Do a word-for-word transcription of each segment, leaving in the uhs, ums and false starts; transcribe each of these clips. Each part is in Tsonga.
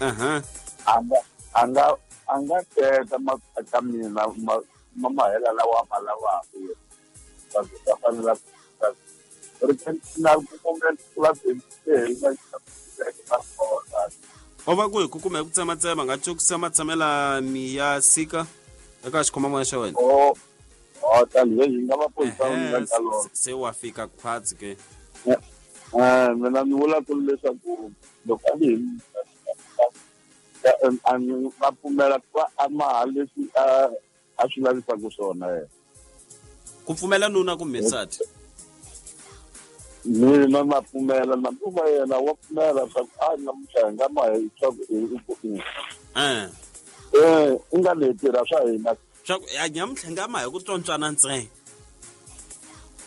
Aha. Anga anga anga teka ma ka mina ma ma mahela lawa ma lavaka va ta fanela o va ku hi ku kume ku tsematsema nga tsukisa matshamela mi ya sika eka xikhomamona xa wena o o tanihi hi nga va poyisa nga lona se wa fika khwatsi ke eh mina ni vula ku leswaku loko a ni a ni va pfumela ku a maha leswi a a swi lavisaka swona yena ku pfumela nuna kumbe nsati mina na pfumela na ku va yena wa pfumela swa ku a namuntlha hi nga maha swa ku eh eh i nga le tirha swa hina swa ku ya nyamuntlha nga maha hi ku tsontswana ntsena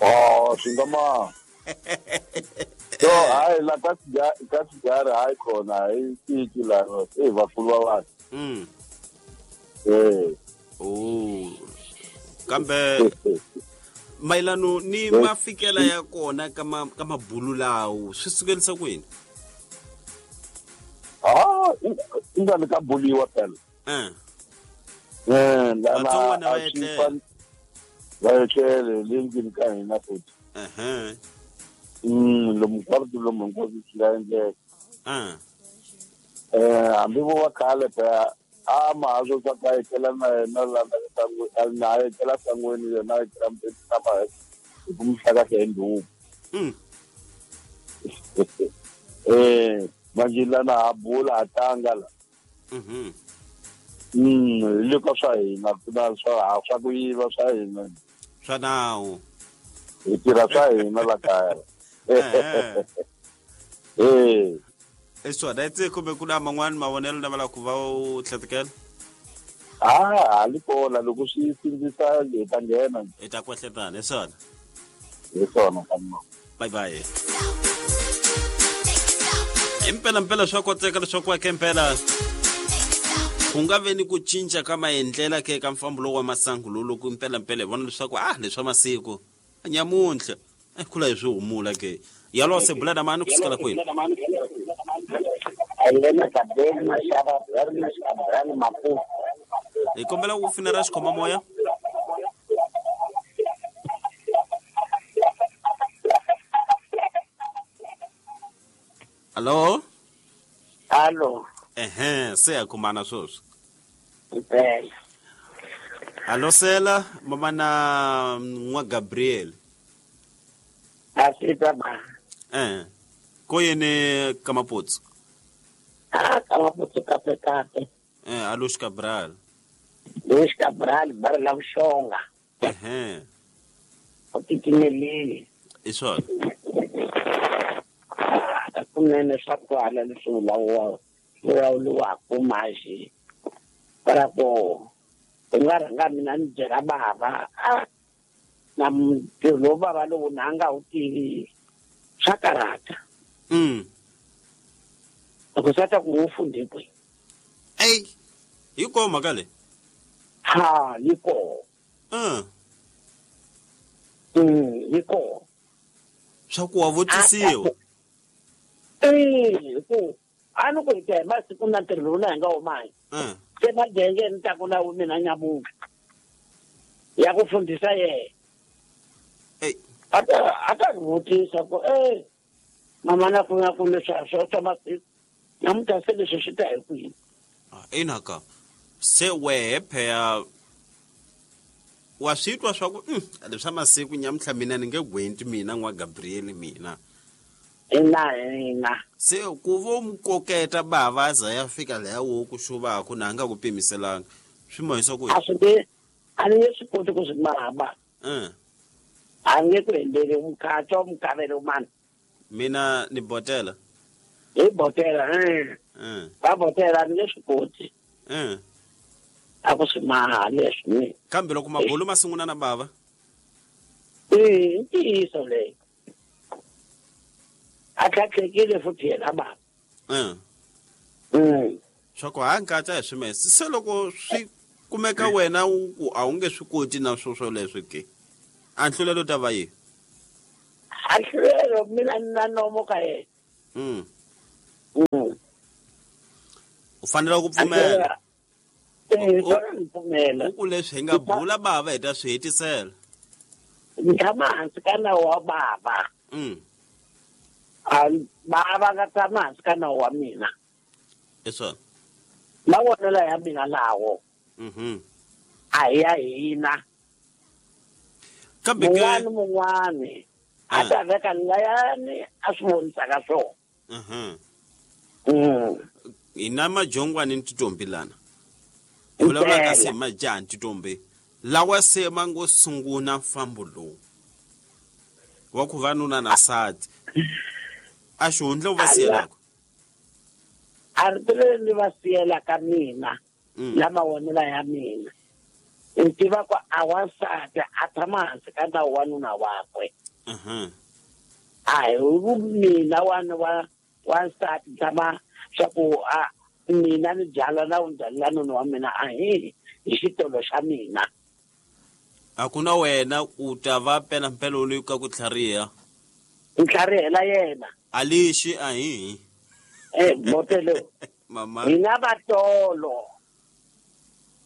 oh swi nga maha so hayi la ka ka sigara hayi khona hayi tiki la e vakulu va vanhu mm eh oh kambe mayelano ni mafikela ya kona ka ma ka mabulu lawo swi sukelisa kwini ah i nga ni ka buliwa phela eh eh la Vatsongwana va etlela. va etlele le ndlwini ka hina futhi ehe mm lomu hinkwaswo lomu hinkwaswo swi nga endleka ah eh hambi vo va khale phela a maha swo swa ka etlela na yena la na a etlela sangweni yena a etlela na maha hi ku mi hlakahla hi ndhuku mm eh manje lana ha bula ha tlanga la mhm mm hi le ka swa hina ku na swa swa ku yiva swa hina swa nawu hi tirha swa hina la kaya Ehe. eh i swona itse kumbe ku na man'wani mavonelo lama lava ku va u tlhetekela ah ha li kona loko swi sindzisa hi ta nghena hi ta kwehletana hi swona hi swona ka bye bye impela mpela swa koteka leswaku ake mpela ku nga ve ni ku cinca ka maendlela ke ka mfambo lowu wa masangu lowu loko impela mpela hi vona leswaku ah leswa masiku nyamuntlha eh khula hi swi humula ke yalo se bula na mani ku sukela kwini hi kombela ku finera xikhoma moya Allo Allo ehe se ya kumana sweswi impela Allo sela mama na n'wa Gabriel asita ba eh ko yene ka Maputsu ah ka Maputsu kape kape eh Alush Cabral Luis Cabral bar la Vuxonga ehe u titimelile i swona kunene swa kwala leswi vulavuriwa vulavuriwaka maxi para ku u nga rhanga mina ni byela bava a na ntirho lowu bava lowu na nga wu tivi swa karhata mm loko swa ta ku wu fundhe kwihi ey hi koho mhaka leyi ha yi koho uh mm yi koho swa ku wa vutisiwa eh ku a ni ku hi ta hi masiku na ntirho lowu na hi nga humangi uh se madenge ni ta ku na mina nyamuntlha ya ku fundhisa yena ey a ta a ta ni vutisa ku e mama na ku na ku leswi swa swa masiku namuntlha se leswi swi ta hi kwini ina ka se wehe pheya wa swi twa swa ku mm, leswa masiku nyamuntlha mina ni nge gwenti mina n'wa Gabriel mina ina ina se ku vo mu koketa bava a za ya fika laya wo ku xuvaku na a nga ku pimiselanga swi mahisa ku a swi nge a ni nge swi koti ku swi mahaba uh a ni nge ku endleli mukhatswa mukavelo mani mina ni botela hi botela eh uh va botela a ni nge swi koti uh a ku swi maha leswi ni kambe loko mabulu ma sungula na bava i ntiyiso leyi a tlhatlhekile futhi yena bava uh mm swa ku ha nkatsa hi swimese se loko swi kumeka wena u ku a wu nge swi koti na swo swoleswo ke a nhlulelo ta va yihi a hlulelo mina ni na nomo ka yena mm mm U fanele ku pfumela. Eh, pfumela. Ku leswi hi nga bula bava hi ta swi hetisela. Ni tshama hansi ka nawu wa bava. Mm. A bava nga tshama hansi ka nawu wa mina. Eswona. Mavonelo ya mina lawo. Mhm. A hi ya hina. Kambe ke mun'wani mun'wani a ta veka layani a swi vonisaka swona. Mhm. Mm. Hina majongwani ni titombi lana. Hi vulavula ka se majaha ni titombi lawa se ma ngo sungula mfambo lowu wa ku va nuna na nsati a xihundla u va siyelaka. A ri leri ni va siyelaka mina Mm. la mavonelo ya mina ni tiva ku a wansati a tshama hansi ka nawu wa nuna wakwe. Mhm. A hi mina wa wa wansati tshama swa ku a mina ni byala na wu byalela nuna wa mina a hi hi xitolo xa mina. A ku na wena u ta va pela mpela loyi ka ku tlhariha. Ntlharihela yena. A lexi a hi. Eh botelo. Mama. Hina vatolo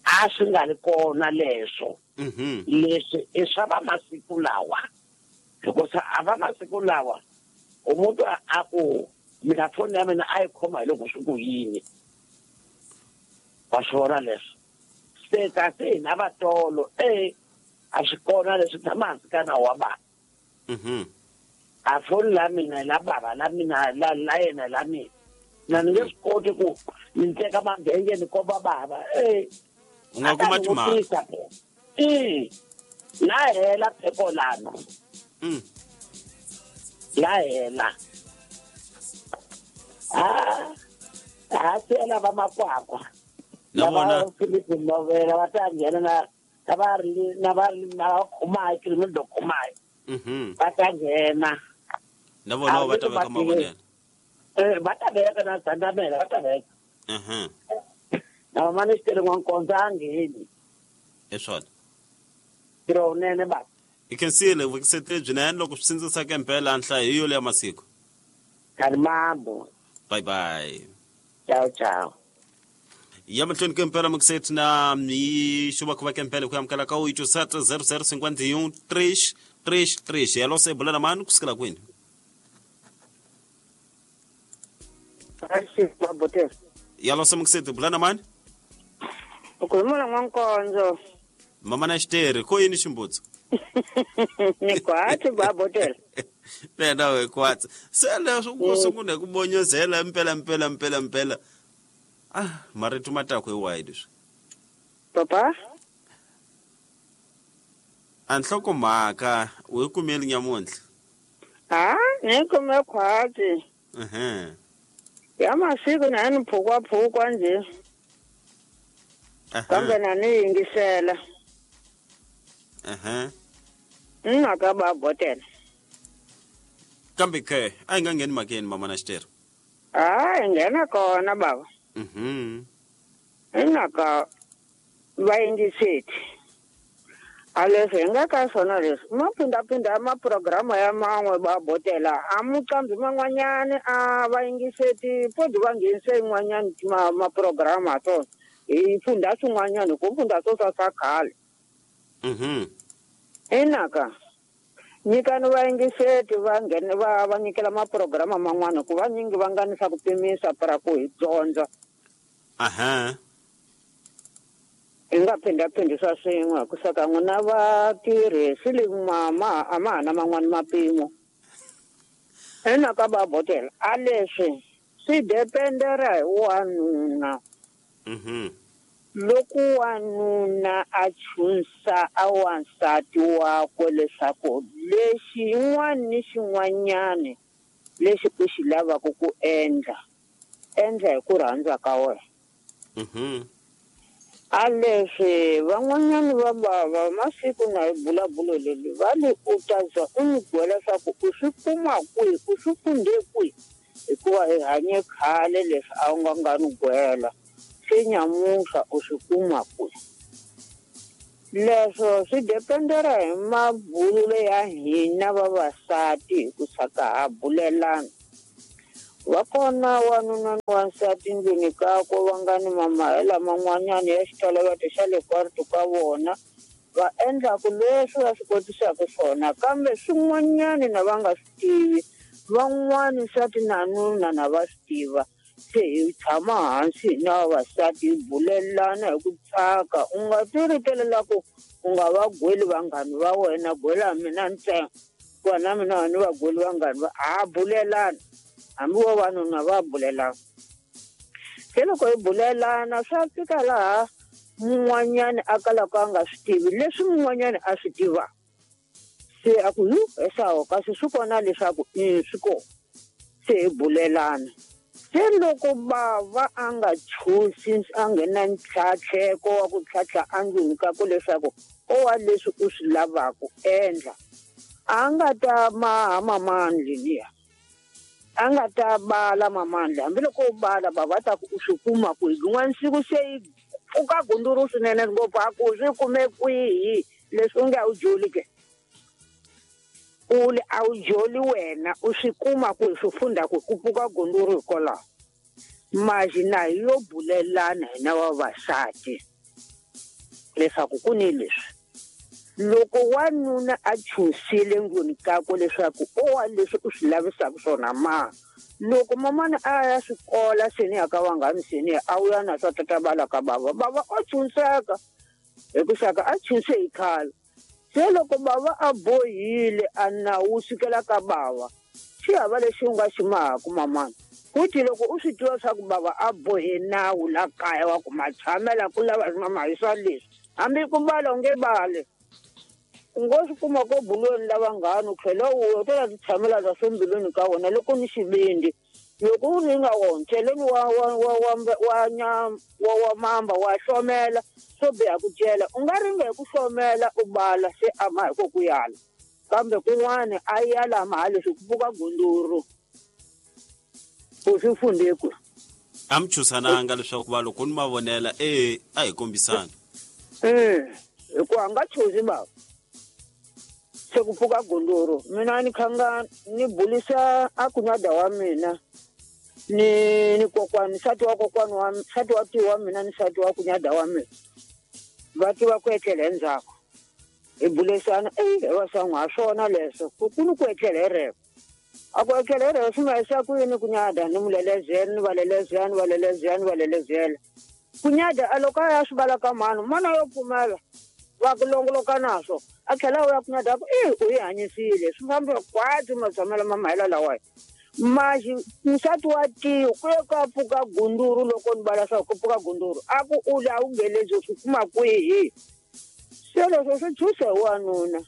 a swi nga ri kona leswo. Mhm. Leswi i swa va masiku lawa. Hikuva a va masiku lawa umuntu a ku mina foni ya mina a yi khoma hi loko swi ku yini. Wa swi vona leswo. Se kasi hina vatolo eh a swi kona leswi tshama hansi ka nawu wa bava. Mhm. A foni la mina la bava la mina la la yena la mina. Na ni nge swi koti ku ni teka mabenge ni komba bava eh. U nga kuma timhaka. Eh. La hela pheko lana. Mm. La hela. Ah. Ah sela va makwakwa. Na vona Philip Novela va ta nghena na na va ri na va ri na khumai criminal khumai. Mhm. Va ta nghena. Na vona va ta veka mavonelo. Eh va ta veka na Zandamela va ta veka. Mhm. Na mama ni xitele n'wankonzo a ngheni. Eswona. Ntirho wunene ba. I khensile vukiseteri byinene loko swi sindzisaka mpela nhlayo hi yo ya masiku. Karimambo. Bye bye. Ciao ciao. Ya mahlweni ka mpela mukiseti na hi xuvakuva ka mpela ku amukela ka oito sete zero zero cinquenta e um três três três. Yalo se bulela mani kusukela kwini? Yalo se mukiseti bulela mani? Ukhuluma n'wankonzo. Mama na xiteri ko yini ximbutso? Ni kwatsi babotela. Pena we kwatsi. Se leswo ku sungula ku bonyozela mpela mpela mpela mpela. Ah, marito matako hi wahi leswi? Papa? A nhlokomhaka u yi kumeli nyamuntlha? Ah, ni kume khwatsi. Mhm. Ya masiku na ni phukwa phukwa nje. Kambe na ni yingisela. Aha. Nna ba botela. Kambe ke a yi nga ngheni makeni mama na xiteri. Ah, nghena kona baba. Mhm. Nna ka va yingiseti. A leswi hi nga ka swona leswi ma phindaphinda maprograma ya man'we va botela a muqambi man'wanyani a va yingiseti podi va nghenise yin'wanyani ma maprograma swona hi funda swin'wanyani ku funda swo swa swa khale. Mhm. Inaka nyikani va yingiseti va nghena va va nyikela maprograma man'wana ku vanyingi va nganisa ku pimisa para ku hi dyondza. Aha. Hi nga phindhaphindhisa swin'we ku saka n'wina vatirhi swi le ma a ma ha na man'wani mapimo. Inaka va botela a leswi swi dependera hi wanuna. Mhm. Loko wanuna a chunsa a wansati wakwe leswaku lexi xin'wana ni xin'wanyani lexi u xi lavaka ku endla endla hi ku rhandza ka wena. Mhm. A leswi van'wanyani va bava masiku na hi bulabulo leli va le u ta za u n'wi byela leswaku u swi kuma kwihi u swi funde kwihi hikuva hi hanye khale leswi a wu nga nga ni gwela. Se nyamuhla u swi kuma kwihi. Leswo swi dependera hi mabululo ya hina vavasati hi ku saka ha bulelana. Va kona wanuna ni wansati ndlwini kakwe va nga ni mamahela man'wanyana ya xitoloveto xa le kwarito ka vona va endlaku leswi va swi kotisaka swona kambe swin'wanyana na va nga swi tivi van'wani nsati na nuna na va swi tiva se hi tshama hansi hina vavasati hi bulelana hi ku tsaka u nga ti ritelela ku u nga va gweli vanghani va wena gwela mina ntsena hikuva na mina ni va gweli vanghani va ha bulelana hambi vavanuna va bulelana se loko hi bulelana swa fika laha mun'wanyani a kalaka a nga swi tivi leswi mun'wanyani a swi tivaka se a ku yu esawo kasi swi kona leswaku i swi kona se hi bulelana se loko bava a nga chusi a nghena ntlhatlheko wa ku tlhatlha endlwini ka ku leswaku o wa leswi u swi lavaka endla a nga ta maha mamandli liya a nga ta bala mamandla hambiloko u bala bava ta ku u swi kuma kwihi rin'wana siku se yi pfuka gunduru swinene ngopfu a ku swi kume kwihi leswi u nge a wu joli ke u le a wu joli wena u swi kuma kwihi swi funda ku ku pfuka gunduru hikwalaho maxi na hi yo bulelana hina vavasati leswaku ku ni leswi loko wanuna a chusile ndlwini kakwe leswaku o wa leswi u swi lavisaka swona ma loko mamana a ya swikola seni ya ka vanghani seni a wu ya na swa tatabala ka bava bava o chunseka hi ku xaka a chunse hi khale se loko bava a bohile a nawu sukela ka bava xi hava lexi u nga xi mahaku mamana futhi loko u swi tiva swa ku bava a bohe nawu la kaya wa ku matshamela ku lava mama hi swa leswi hambi ku bala u nge bali u ngo swi kuma ko bulweni la vanghani u tlhela u u ta ti tshamela ta swembilwini ka wena loko ni xivindi loko u ringa wona cheleni wa wa wa wa wa nyama wa wa mamba wa hlomela swo biha ku cela u nga ringa hi ku hlomela u bala se ama hi ko ku yala kambe kun'wana a yala ma leswi ku pfuka gunduru u swi funde ku a mi chusananga leswaku va loko ni mavonela e a hi kombisana eh hikuva a nga chuzi bava se ku pfuka gunduru mina ni khanga ni bulisa a kunyada wa mina ni ni kokwani nsati wa kokwani wa nsati wa tiwa mina ni nsati wa kunyada wa mina va tiva ku etlela endzhaku hi bulisana e va sangu ha swona leswo ku ku ni ku etlela hi rero a ku etlela hi rero swi nga yisa ku yini kunyada ni mulelezela ni va lelezela ni va lelezela ni va lelezela kunyada a loko a ya swi vala ka mhani mana yo pfumela va ku longoloka naswo a tlhela u ya kunyada ku e u yi hanyisile swi fambe kwati matshamelo ma mahela lawaya maxi nsati wa tiyo ku ye ka pfuka gunduru loko ni vala swa ku pfuka gunduru a ku u la u ngelezi swi kuma kwihi se leswo swi chuse hi wanuna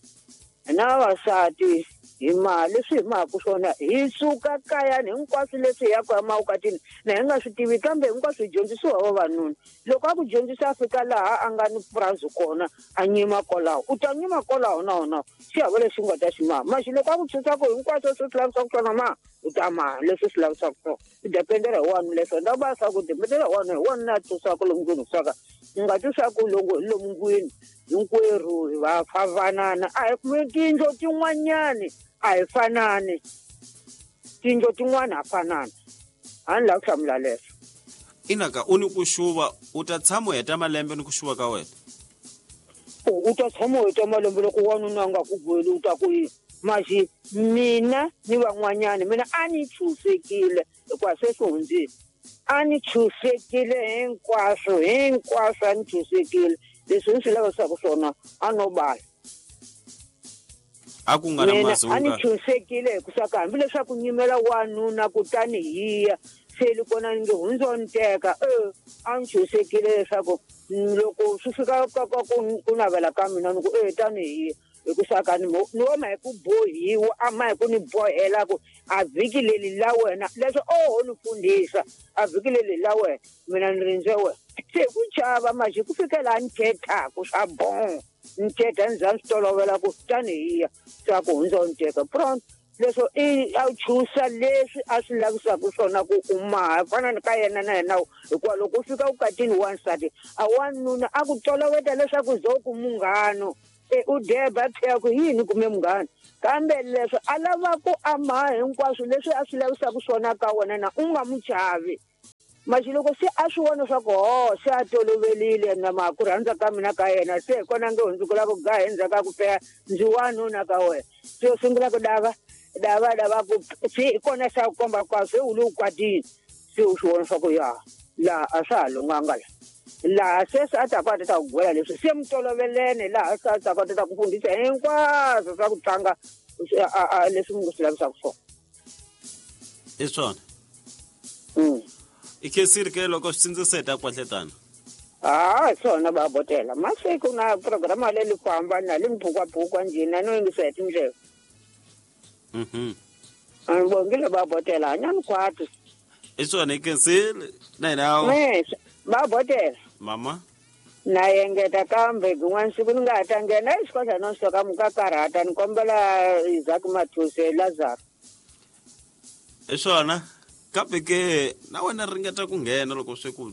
na vavasati hi mali leswi hi mahaku swona hi suka kayani hinkwaswo leswi hi yaka emavukatini na hi nga swi tivi kambe hinkwaswo hi dyondzisiwa vavanuna loko a ku dyondzisa a fika laha a nga ni purasi kona a nyima kwalaho u ta nyima kwalaho na wona xi hava lexi u nga ta xi maha maxi loko a ku chusaku hinkwaswo swi swi lavisaka swona ma u ta maha leswi swi lavisaka swona u dependela hi wani leswo nda va swa ku dependela hi wani hi wani a tusaka lomu ndlwini saka u nga twisaku loko hi lomu ndlwini hinkwerhu hi va favanana a hi tiyindlu tin'wanyani a hi fanani tiyindlu tin'wana ha fanana a ni lava ku hlamula leswo inaka u ni ku xuva u ta tshama u heta malembe ni ku xuva ka wena u ta tshama u heta malembe loko wanuna a nga ku gweli u ta ku yini maxi mina ni van'wanyani mina a ni chusekile hikuva se swi hundzile a ni chusekile hinkwaswo hinkwaswo a ni chusekile leswi ni swi lavisaka swona a no bala a ku nga na mazunga a ni chusekile hi ku saka hambileswaku nyimela wanuna kutani hi ya se li kona ni nge hundzo ni teka e a ni chusekile leswaku loko swi fika ka ka ku navela ka mina ni ku e tani hi ya hi ku saka ni ni woma hi ku bohiwa a ma hi ku ni bohela ku a vhiki leri la wena leswo oho ni fundhisa a vhiki leri la wena mina ni rindze wena se hi ku chava maxi ku fikela ni thethaku swa bon ni thetha ni za ni swi tolovela ku tani hi ya swa ku hundza ni teka pronto leswo i a chusa leswi a swi lavisaka swona ku u maha fana ni ka yena na yena hikuva loko u fika vukatini wansati a wanuna a ku toloveta leswaku zo ku munghano u deba phela ku yini kume munghana kambe leswi a lava ku ama hinkwaswo leswi a swi lavisaka swona ka wena na u nga mu chavi maxi loko se a swi vona swa ku ho se a tolovelile na ma ku rhandza ka mina ka yena se hi kona nge hundzukela ku ga endzhaku ka ku pela ndzi wanuna ka wena se u sungula ku dava dava dava ku se hi kona se a ku komba kwa se u le u kwatile se u swi vona swa ku ya laha a swa ha lunghanga la laha se se a ta ku a ta ta ku gwela leswi se mi tolovelene laha se a ta ku a ta ta ku fundisa hinkwaswo swa ku tlanga leswi mi swi lavisaka swona i swona i khensile ke loko swi tsindziseta kwahletana ah swona ba botela masiku na programa leyi ku hambana le mphukwapfukwa njhina no yingisa hi tindleve mhm a bongile ba botela hanyani kwati i swona i khensile na hina ba botela mama na engeta kambe kun'wana siku ni nga ha ta nghena exikwahla no soka mu ka karhata ni kombela Isaac Mathuse Lazaro i swona kambe ke na wena ringeta ku nghena loko swi ku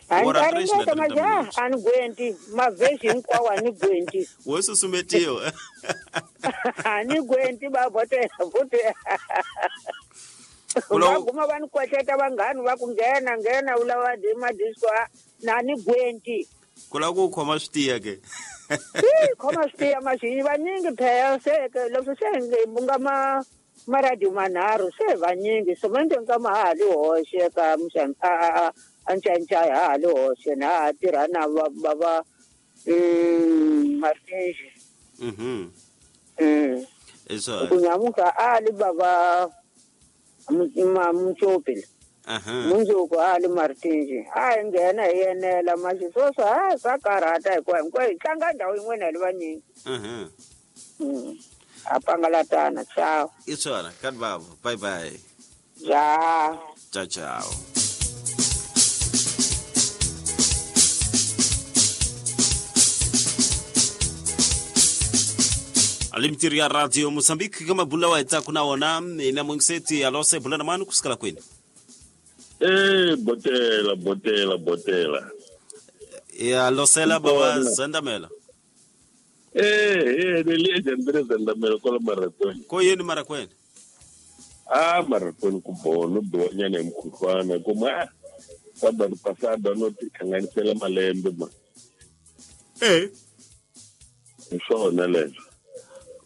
a ringeta majaha a ni gwenti mavhesi hinkwawo a ni gwenti wo susumetiwa a ni gwenti ba botela futhi va guma va ni kwetleta vanghani va ku nghena nghena u lava madisco na ni gwenti ku lava ku khoma swi tiya ke khoma swi tiya maxinyi vanyingi phela se leswi se mu nga ma maradio manharhu se vanyingi somente nkama ha ha li hoxe ka a a ncancai ha ha li hoxe na ha tirha na va va va Martinji mhm ku nyamuka a li bava Mutsopi mundzuku a li Martinji a hi nghena hi yenela maxi sweswo a swa karhata hikuva hinkwayo hi tlanga ndhawu yin'wana hi li vanyingi a pangalatana ciao i swona kani bavo bye bye ja ciao ciao alimtiri ya Radio Mozambique kama bula wa itsaku na wona ina mungiseti alose bula na mani kusikala kwini eh botela botela botela ya losela baba zandamela eh eh le jandre zandamela kola marakweni ko yini marakweni ah marakweni ku bono biwanyana mkhuhlwana kuma sábado passado no tihlanganisela malembe ma eh hi swona leswo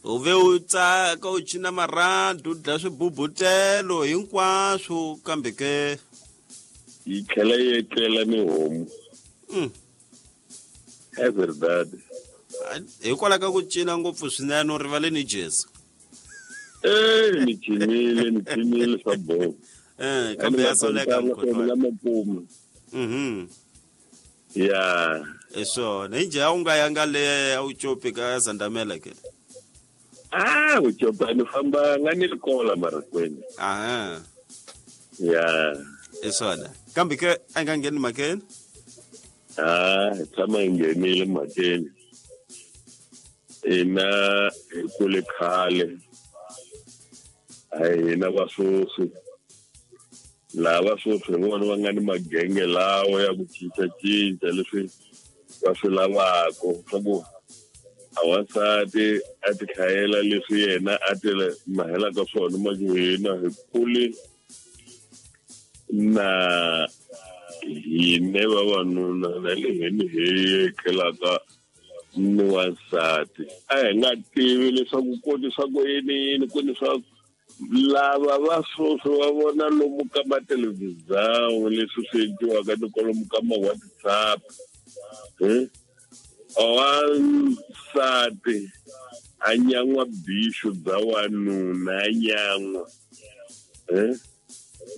u ve u tsaka u cina marhandu u dlaya swibubutelo hinkwaswo kambe ke yi tlhela yi etlela ni homu mm é verdade hikwalaho ka ku cina ngopfu swinene u rivale ni jezi eh ni cinile ni cinile swa boho eh kambe ya soleka mkhuhlwana mapuma mhm ya hi swona hi njhe a wu nga yanga le a wu copi ka Zandamela ke ah ucopa ni famba nga ni likola marakweni aha ya hi swona kambe ke a nga ngheni mhakeni ah hi tshama hi nghenile mhakeni ina hi kule khale a hina vasweswi lava sweswi hi vona va nga ni magenge lawa ya ku cincacinca leswi va swi lavaka swa ku a wansati a ti hlayela leswi yena a ti mahelaka swona manje hina hi kule na hine vavanuna na le hini hi etlelaka ni wansati a hi nga tivi leswaku ku swa ku yini yini ku ni swa lava va sweswi va vona lomu ka mathelevhizani leswi swi endliwaka ni kwalomu ka ma-WhatsApp wansati a nyan'wa bixu bya wanuna a nyan'wa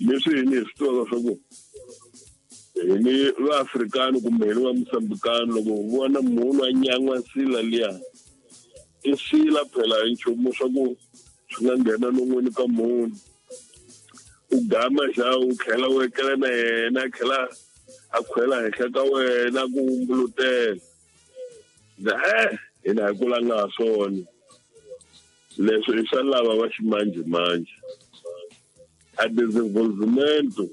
leswi hini hi swi tivaka swa ku hini vaafrikani kumbe hini va mosambikani loko hi vona munhu a nyan'wa nsila liya i sila phela hi nchumu swa ku swi nga nghena non'wini ka munhu u gama xa u tlhela u etlela na yena a tlhela a khwela henhla ka wena ku wumbulutela eh hina hi kulanga ha swona leswi i swa lava va ximanjhemanjhe a desenvolvimento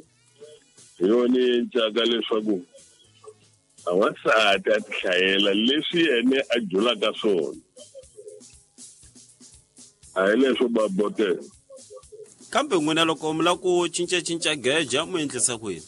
hi yona yi encaka leswaku A wansati a ti hlayela leswi yena a julaka swona. A hi leswo babotela. Kambe n'wina loko mi lava ku cincacinca geja, mu endlisa ku yini?